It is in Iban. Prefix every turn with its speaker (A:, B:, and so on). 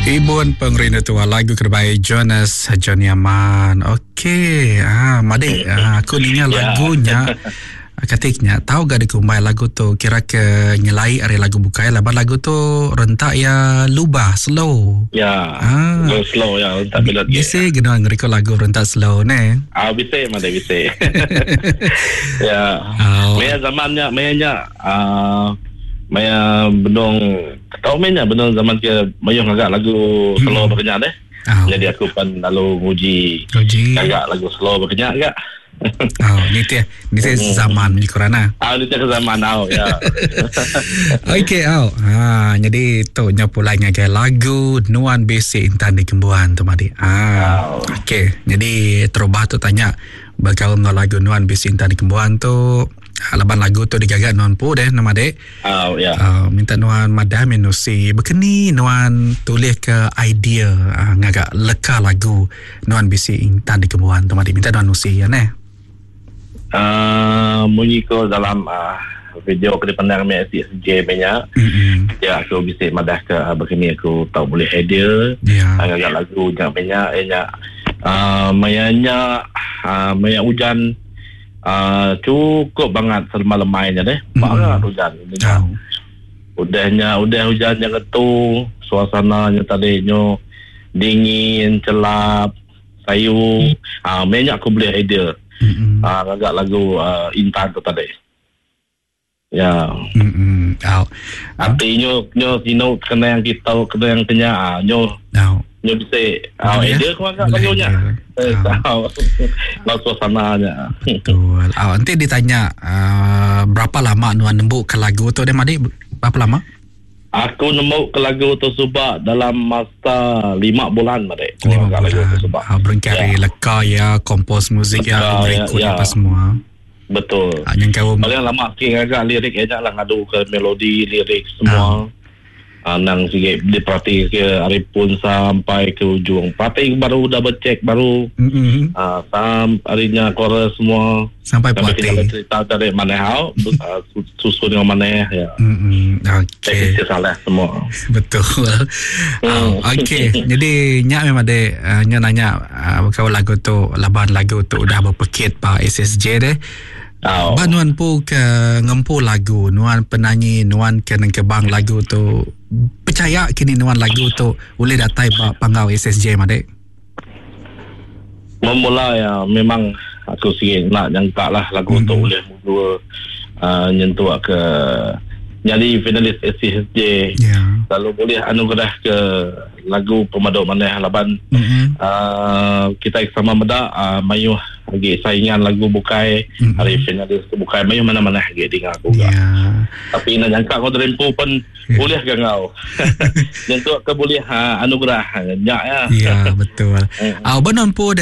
A: Ibun pengerindu tua lagu kerebai Jonas Johnny Aman. Okey, ah madik ah, aku ninga ya. lagunya. Katik nya tau ga dikumbai lagu tu kira ke nyelai ari lagu bukai laban lagu tu rentak ya lubah slow.
B: Ya. Ah. Slow, slow ya rentak
A: melodi. Bisi gena ngeriko lagu rentak slow ne.
B: Ah bisi made bisi. ya. Oh. Maya zaman nya maya nya ah maya benung tau meh nya benung zaman ke mayuh ngaga lagu slow hmm. berkenyak deh. Oh. Jadi aku pan lalu nguji ngaga lagu slow berkenyak gak.
A: Oh, ni teh, ni teh hmm. zaman ni kurana.
B: Ah, ni teh zaman au ya.
A: Okey, au. Ha, jadi tu nya pulai ngagai lagu Nuan Bisi Intan di Kembuan tu madi. Ha. Okey, jadi terubah tu tanya bekaul enggau lagu Nuan Bisi Intan di Kembuan tu laban lagu tu digaga nuan pu deh nama dek.
B: Oh, ya.
A: Minta nuan madah menusi bekeni nuan tulis ke idea uh, ngaga leka lagu Nuan bisi intan dikembuan tu madi minta nuan nusi iya neh.
B: Uh, munyi ko dalam uh, video ke dipandang mi SJ nya. Mm-hmm. Ya aku bisi madah ke uh, begini aku tau boleh idea. Yeah. Uh, ngaga lagu nya nya nya uh, maya nya uh, maya hujan uh, cukup banget selama lemai nya deh. Mm-hmm. Banget hujan. Oh. Udah nya udah hujan nya ngetu suasana nya tadi nyo dingin, chelap, sayu. Ah meh nya aku bulih idea. Mm-hmm. Ah ngaga lagu uh, Intan tu tadi. Ya.
A: Mm-hmm. Oh.
B: Ati nyo nyo sinu kenang kita kenang kenya ah nyo. Oh. Nyo bisi ah idea aku ngaga lagu nya. Eh, oh. Lagu suasana nya.
A: Betul. Oh, nanti ditanya uh, berapa lama nuan nembuk ke lagu tu dia madi berapa lama?
B: Aku nemu ke lagu tu suba dalam masa 5 bulan madi.
A: 5 bulan. Lagu tu suba. Ha, berengkah ya. leka ya, kompos muzik ya, record ya, apa semua.
B: Betul.
A: Ha, yang kau
B: paling lama sikit ngaga lirik aja lah ngadu ke melodi, lirik semua. Ha. Ha, nang sikit diperhati ke hari pun sampai ke ujung. Perhati baru dah bercek baru.
A: Mm-hmm.
B: Ha, sam harinya chorus semua.
A: Sampai puas
B: hati. Cerita dari mana hau, ah, susun dengan mana ya.
A: Hmm, okey.
B: Saya salah semua.
A: Betul. Mm. Oh, okey. Jadi nyak memang ada uh, nyak nanya uh, kau lagu tu laban lagu tu udah berpekit pa SSJ deh.
B: Oh.
A: Ba nuan pu ke ngempu lagu, nuan penyanyi, nuan ke nengkebang lagu tu percaya kini nuan lagu tu boleh datai ba panggau SSJ madek?
B: Memula ya memang aku sikit nak nyangka lah lagu mm-hmm. tu boleh mula uh, nyentuh ke jadi finalis SCSJ
A: yeah.
B: lalu boleh anugerah ke lagu pemaduk maneh laban
A: mm-hmm.
B: uh, kita sama meda uh, mayuh lagi saingan lagu bukai mm-hmm. hari finalis bukai mayuh mana-mana lagi dengar aku
A: yeah.
B: tapi nak nyangka kau terempu pun Yeah. Boleh ke kau? Nyentuk ke boleh ha, anugerah. Nyak ya.
A: Ya, betul. Ah, benar pun